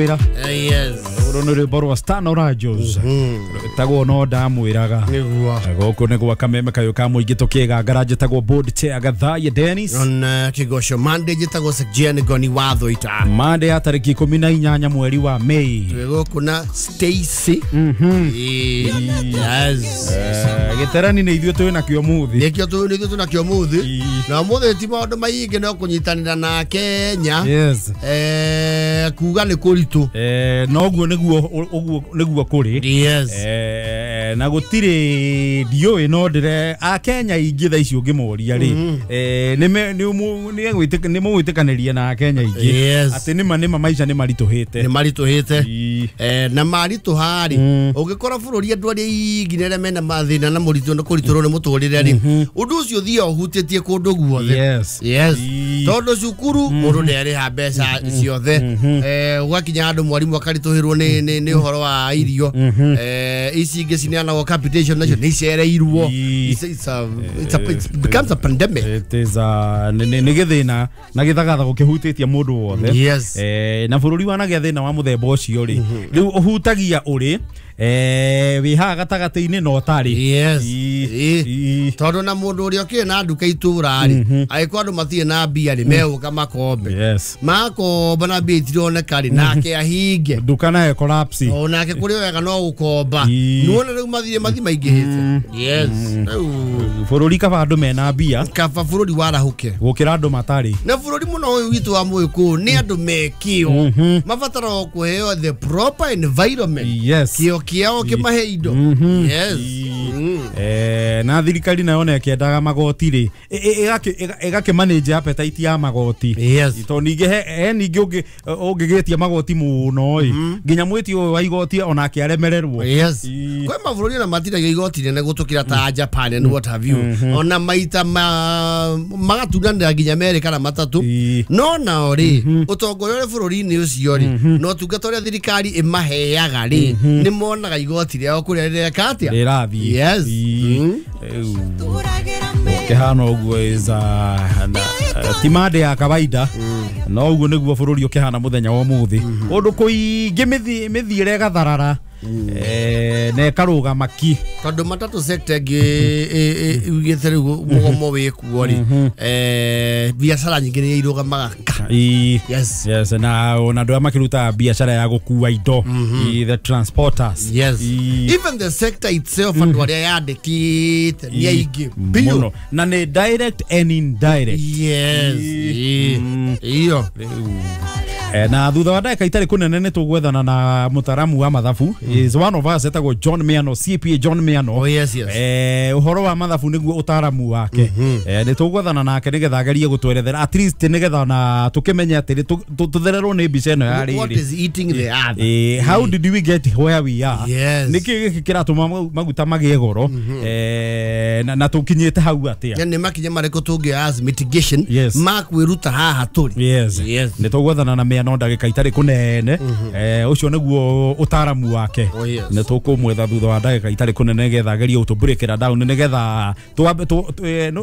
Wĩra. Yes. Rũrũ nĩ rwĩmbo rwa Stan Rajos rwĩtagwo no ndamwĩraga. Nĩguo. Gũkũ nĩ gwa kameme kayũ ka mũingĩ tũkĩgangara, njĩtagwo board chair Gathaiya Dennis. Ona kĩgoco Monday njĩtagwo Sekjen Ngoni wa Thũita. Monday ya tarĩki 18 mweri wa Mei. Twĩ gũkũ na Stacy. Yes. Gĩterani nĩ ithuĩ twĩ nakĩo mũthĩ. Nĩkĩo nĩkĩo tũnakĩo mũthĩ. Ii. Na mũthĩ ti maũndũ maingĩ no kũnyitanĩra na Kenya. Yes. Kuga nĩ kũritũ. Noguo nĩguo, ũguo nĩguo kũrĩ. Yes. Na gũtirĩ, ndiũĩ, no ndĩre akenya aingĩ thaa ici ũngĩmoria rĩ, nĩ mũgwĩtĩkanĩria na akenya aingĩ atĩ nĩma nĩma maica nĩ maritũhĩte. Nĩ maritũhĩte. Ii. Na maritũha rĩ, ũngĩkora bũrũri andũ arĩa aingĩ nĩ arĩa mena mathĩna na mũritũ na kũritũrwo nĩ mũtũrĩre rĩ, ũndũ ũcio ũthiaga ũhutĩtie kũndũ guothe. Yes. Ii. Tondũ cukuru mũndũ nĩarĩha mbeca ciothe, gwakinya handũ mwarimũ akaritũhĩrwo nĩ ũhoro wa irio, ici ingĩ cineanagwo capitation nacio nĩ icereirwo. Ii. It becomes a pandemic. It is a nĩ gĩthĩna na gĩthagathago kĩhutĩtie mũndũ wothe. Na bũrũri wanagĩa thĩna wa mũthemba ũcio rĩ, rĩu ũhutagia ũrĩ wĩ haha gatagatĩ-inĩ na ũtarĩ. Yes. Ii. Ii. Ii. Tondũ na mũndũ ũrĩa ũkĩrĩ na nduka itũra rĩ, angĩkorwo andũ matirĩ na mbia rĩ, megũka makombe. Makomba na mbia itironeka rĩ, nake ahinge. Nduka nayo collapse. Onake kũrĩ wega no gũkomba. Ii. Nĩwona rĩu mathirĩ mathi maingĩhĩte. Yes. Rĩu Bũrũri kaba andũ mena mbia kaba bũrũri warahũke gũkĩra andũ matarĩ. Na bũrũri mũno ũyũ witũ wa mũgĩkũyũ nĩ andũ me kĩo, mabataraga kũheo the proper environment, kĩo kĩao kĩmahe indo. Yes. Na thirikari nayo na ĩkĩendaga magoti rĩ, ĩgakĩmanage appetite ya magoti. Tondũ ningĩ he ningĩ ũngĩgĩtia magoti mũno ĩ, nginya mwĩti ũyũ wa igoti onake aremererwo. Yes. Ii. Kwĩ mabũrũri ona matinagia igoti nene gũtũkĩra ta Japan and what have you, ona maita magatunanĩra nginya merĩ kana matatũ. No nao rĩ, ũtongoria ũrĩa bũrũri-inĩ ũcio rĩ, na ũtungata ũrĩa thirikari ĩmaheaga rĩ, nĩ monaga igoti rĩao kũrĩa rĩreka atĩa. Rĩrathiĩ. Yes. Rĩu ũkĩhana ũguo is ti mande ya kawaida, no ũguo nĩguo bũrũri ũkĩhana mũthenya wa ũmũthĩ, ũndũ kũingĩ mĩthiĩre ĩgatharara, na ĩkarũgama ki. Tondũ matatũ sector ĩngĩ ugĩte rĩu mũgomo wĩkuo rĩ, biacara nyingĩ nĩ irũgamaga ka. Ii. Yes. Yes, na ona andũ arĩa makĩrutaga biacara ya gũkua indo. Ii, the transporters. Ii. Even the sector itself, andũ arĩa yandĩkĩte nĩ aingĩ biũ. Mũno, na nĩ direct and indirect. Yes. Ii. Iyo. Na thutha wa ndagĩka itarĩ kũnene nĩ tũgwethana na mũtaramu wa mathabu, is one of us, etagwo John Miano, CPA John Miano. Oh yes. Ũhoro wa mathabu nĩguo ũtaramu wake. Nĩ tũgwethana nake nĩgetha agerie gũtwerethera, at least nĩgetha na tũkĩmenye atĩrĩ tũthererwo nĩ mbica ĩno ya What rĩrĩ. is eating the other? How did we get where we are? Yes. Nĩkĩ gĩkĩ kĩratũma maguta magĩe goro, na tũkinyĩte hau atĩa? Nĩ makinya marĩkũ tũngĩoya as mitigation ma kwĩruta haha tũrĩ? Yes. Yes. Nĩ tũgwethana na Mĩano ndagĩka itarĩ kũnene. Ũcio nĩguo ũtaramu wake. Oh, yes. Nĩ tũkũmwetha thutha wa ndagĩka itarĩ kũnene nĩgetha agerie gũtũbreakĩra down nĩgetha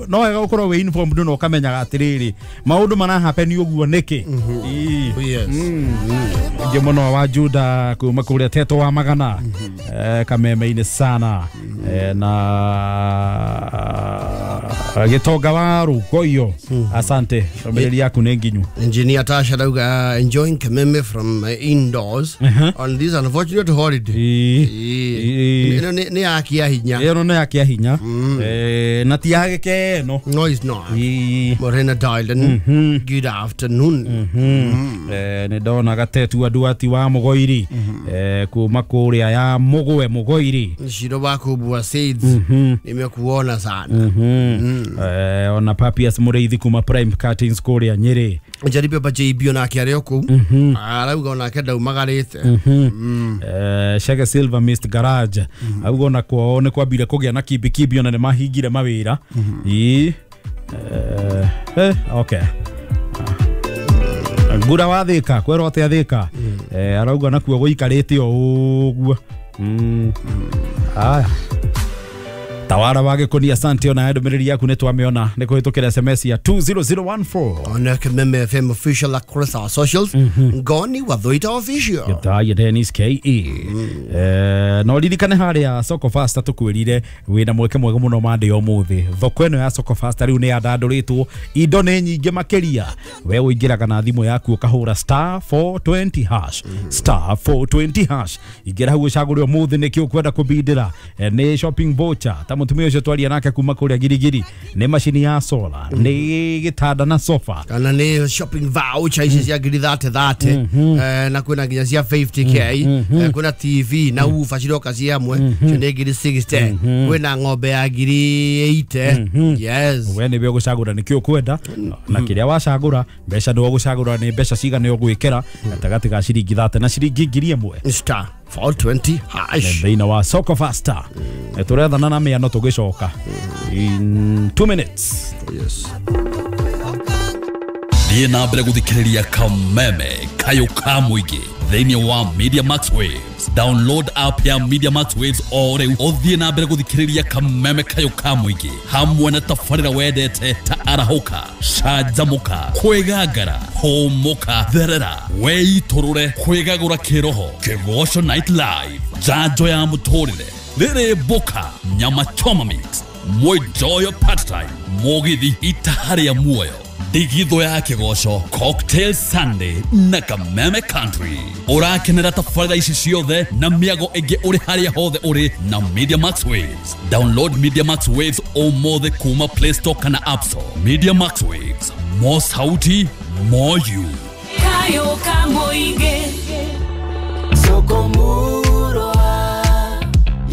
no wega gũkorwo wĩ informed na ũkamenyaga atĩrĩrĩ, maũndũ marahappen ũguo nĩkĩ. Ii. Oh, yes. Ingĩ mũno wa Juda kuma kũrĩa Teto wa Magana, kameme-inĩ sana, na gĩtonga wa Rũkoiyo, asante, ndũmĩrĩri yaku nĩ nginyu. Engineer Tasha Dauga enjoying Kameme from indoors on this unfortunate holiday. Ii. Ii. Ĩno nĩ ya kĩa hinya. Ĩno nĩ ya kĩa hinya, na ti ya gĩkeno. No, it's not. Ii. Morena Dylan. Good afternoon. Nĩ ndona gatetu andũ ati wa Mũgoiri, kuma kũrĩa ya Mũgwe Mũgoiri. Shiro wako Seeds. Nimekuona sana. Ona Papias Mũrĩithi kuma Prime Curtains kũrĩa Nyĩrĩ. Njaribe pa JB onake arĩ o kũu. Arauga onake ndaumagarĩte. Shege Silver Mist Garage auga ona kwao nĩ kwambire kũgĩa na kimbi ona nĩ mahingire mawĩra. Ii. Okay, ngura wa Thika kwerwo atĩa Thika, arauga nakuo gũikarĩte o ũguo. Aya. Tawara wa Gĩkũni, asante ona ndũmĩrĩri yaku nĩ twamĩona nĩ kũhĩtũkĩra SMS ya 20014. On Kameme FM official across our socials. Ngoni wa Thuita official. Gĩthaia Dennis KE. No ririkane harĩa Soko Fasta tũkwĩrire wĩna mweke mwega mũno mande ũmũthĩ. Thoko ĩno ya Soko Fasta rĩu nĩ yandandũrĩtwo, indo nĩ nyingĩ makĩria. We ũingĩraga na thimũ yaku ũkahũra star 420 hash, star 420 hash. Ingĩra hau ũcagũre ũmũthĩ nĩkĩ ũkwenda kũbindĩra. Nĩ shopping voucher ta mũtumia ũcio twaria nake kuma kũrĩa Girigiri, nĩ macini ya solar, nĩ gĩtanda na sofa, kana nĩ shopping voucher ici cia ngiri 30 na kwĩna nginya cia 50k, kwĩna TV na ufa ciroka ci hamwe cio nĩ ngiri 60, kwĩna ng'ombe ya ngiri 80. Yes, we nĩwe ũgũcagũra nĩkĩ ũkwenda, na kĩrĩa wacagũra mbeca nĩwe ũgũcagũra nĩ mbeca cigana ũgwĩkĩra gatagatĩ ga ciringi 30 na ciringi 1000. Star 420 hash thĩinĩ wa Soko Fasta. Tũrethana na mĩano tũgĩcoka in 2 minutes. Yes. Thiĩ na mbere gũthikĩrĩria Kameme Kayũ ka Mũingĩ thĩinĩ wa Media Max Waves. Download app ya Media Max Waves o rĩu ũthiĩ na mbere gũthikĩrĩria Kameme Kayũ ka Mũingĩ hamwe na tabarĩra wendete ta arahũka, canjamũka, kwĩgangara, hũmũka, therera, weitũrũre, kwĩgagũra kĩroho, Kĩgoco Night Live, njanjo ya mũtũrĩre, rĩrĩ mboka, nyama choma mix, mwenjoyo part time, mũgithi itaha rĩa muoyo, ndigithũ ya kĩgoco, Cocktail Sunday na Kameme Country. Ũrakenera tabarĩra ici ciothe na mĩago ĩngĩ ũrĩ harĩa hothe ũrĩ na Media Max Waves. Download Media Max Waves ũmũthĩ kuma Play Store kana App Store. Media Max Waves, more sauti, more you. Kayo ka Mũingĩ. Soko Murwa,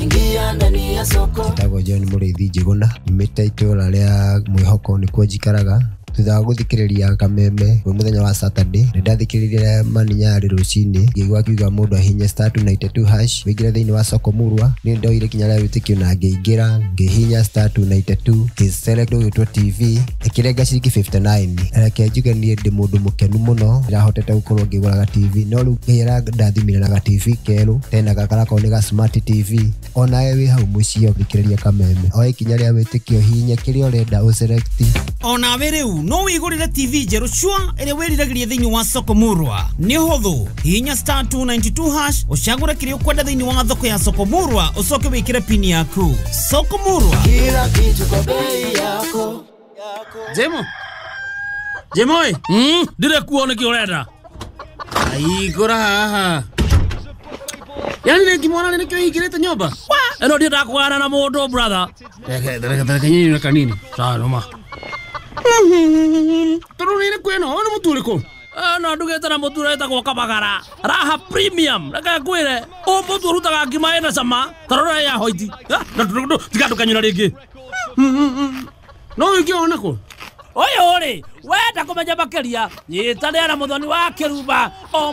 ingia ndani ya soko. Njĩtagwo John Mũrĩithi Njĩgũna, nyumĩte itũũra rĩa Mwĩhoko nĩkuo njikaraga. Thutha wa gũthikĩrĩria Kameme kwĩ mũthenya wa Saturday, nĩ ndathikĩrĩirie Mani Nyarĩ rũcinĩ, ngĩigua akiuga mũndũ ahihinye star 292 hash wĩingĩre thĩinĩ wa Soko Murwa. Niĩ ndoire kinya rĩa wĩtĩkio na ngĩingĩra ngĩhihinya star 292 ngĩselect ũgĩtwo TV ĩkĩrenga ciringi 59. Reke njuge niĩ ndĩ mũndũ mũkenu mũno, ndĩrahotete gũkorwo ngĩgũra ga TV, no rĩu Ngai arandathimire na ga TV kerũ tena gakarakorwo nĩ ga smart TV. Onawe wĩ hau mũciĩ ũthikĩrĩria Kameme, oe ikinya rĩa wĩtĩkio, hihinya kĩrĩa ũrenda ũselect. Onawe rĩu no wĩgũrĩre TV njerũ cua ĩrĩa wĩriragĩria thĩinĩ wa Soko Murwa. Nĩ ũhũthũ, hihinya star 292 hash ũcagũre kĩrĩa ũkwenda thĩinĩ wa thoko ya Soko Murwa, ũcoke wĩkĩre pini yaku. Soko Murwa, kila kitu kwa bei yako. Jemo Jemo ĩ ndire kuo nĩkĩ ũrenda aigũra haha. Yani rĩngĩ mwana nĩkĩo hingĩrĩte nyũmba ĩno ndiendaga kũgana na mũndũ brother. Reke nyinyi kanini sawa noma. Tondũ nĩ kwĩna ũyũ nĩ mũtu ũrĩkũ? No ndugĩte na mũtu ũretagwo Kabagara Raha Premium. Reke ngwĩre ũyũ mũtu ũrutaga ngima ĩna cama ta rora ya hoiti. Tiga ndũkanyũra rĩngĩ. No wĩke ona kũ ũyũ rĩ wenda kũmenya makĩria nyitanĩra na mũthoni wa kĩrumba o